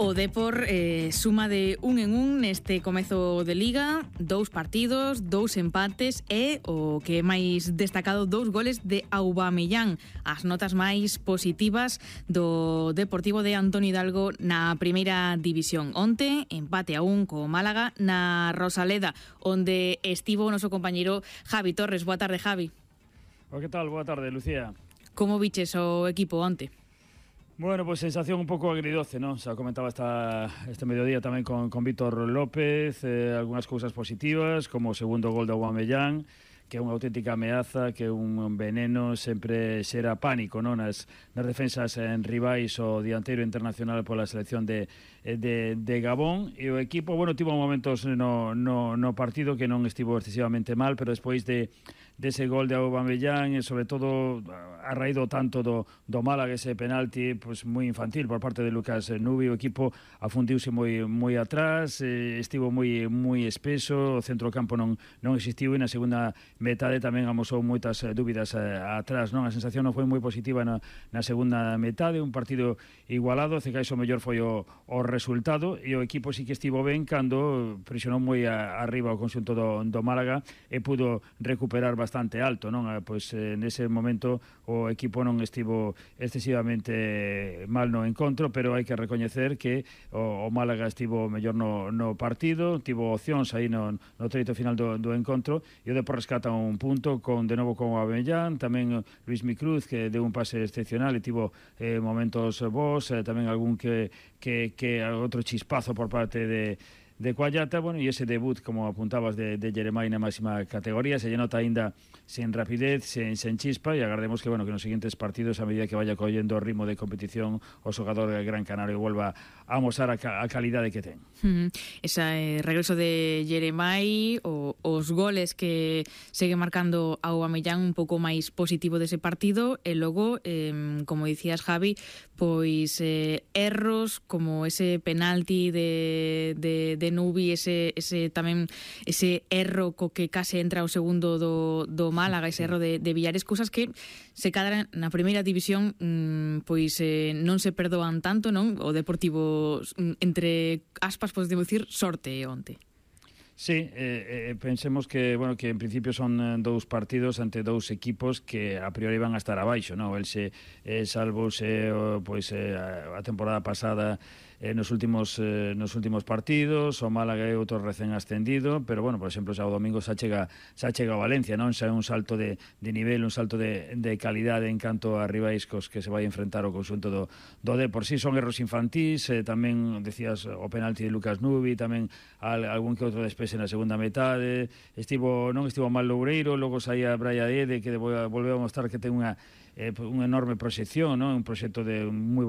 O Depor suma de un en un neste comezo de Liga, 2 partidos, 2 empates e, o que é máis destacado, 2 goles de Aubameyang. As notas máis positivas do Deportivo de Antón Hidalgo na primeira división. Onte, empate a 1 co Málaga na Rosaleda, onde estivo o noso compañeiro Javi Torres. Boa tarde, Javi. Que tal? Boa tarde, Lucía. Como viches o equipo onte? Bueno, pues sensación un pouco agridoce, ¿no? O sea, comentaba este mediodía tamén con Víctor López, algunhas cousas positivas, como o segundo gol de Aubameyang, que é unha auténtica ameaza, que é un veneno, sempre xera pánico, non? Nas defensas en rivais, o dianteiro internacional pola selección de Gabón, e o equipo, bueno, tivo momentos no partido que non estivo excesivamente mal, pero despois dese gol de Aubameyang, e sobre todo a raíz do tanto do Málaga, ese penalti pues moi infantil por parte de Lucas Nubi, o equipo afundiuse moi atrás, estivo moi espeso, o centrocampo non existiu, e na segunda metade tamén amosou moitas dúbidas atrás, non? A sensación non foi moi positiva na segunda metade, un partido igualado, cegais o mellor foi o resultado, e o equipo sí que estivo ben cando presionou moi arriba o conxunto do Málaga e pudo recuperar bastante alto, non? Pois nese momento o equipo non estivo excesivamente mal no encontro, pero hai que recoñecer que o Málaga estivo mellor no partido, tivo opcións aí no treito final do encontro, e o Depor rescata un punto de novo con Aubameyang, tamén Luis Micruz, que deu un pase excepcional e tivo momentos bons, tamén algún que outro chispazo por parte de Cuallata, bueno, e ese debut, como apuntabas, de Jeremai na máxima categoría, se lle nota aínda sen rapidez, sen chispa, e agardemos que nos seguintes partidos, a medida que vaya collendo o ritmo de competición, o xogador del Gran Canario volva a amosar a calidade que ten. Ese regreso de Jeremai, os goles que segue marcando a Aubameyang, un pouco máis positivo dese partido, e logo, como dicías, Javi, pois erros como ese penalti de Nubi, ese tamén ese erro co que case entra o segundo do Málaga, ese erro de Villares, cousas que se cadran na primeira división, pois non se perdoan tanto, non? O Deportivo, entre aspas, podemos dicir, sorte onte. Sí, pensemos que en principio son 2 partidos ante 2 equipos que a priori van a estar abaixo, non? El salvouse a temporada pasada nos últimos partidos, o Málaga é outro recén ascendido, pero por exemplo, xa o domingo xa chega a Valencia, non? Xa é un salto de nivel, un salto de calidade en canto a rivais cos que se vai enfrentar o conxunto do Depor. Si son erros infantís, tamén decías o penalti de Lucas Nubi, tamén algún que outro despese na segunda metade, non estivo mal Loureiro, logo saía Braia Ede, que volveu a mostrar que ten unha enorme proxección, non? Un proxecto de moi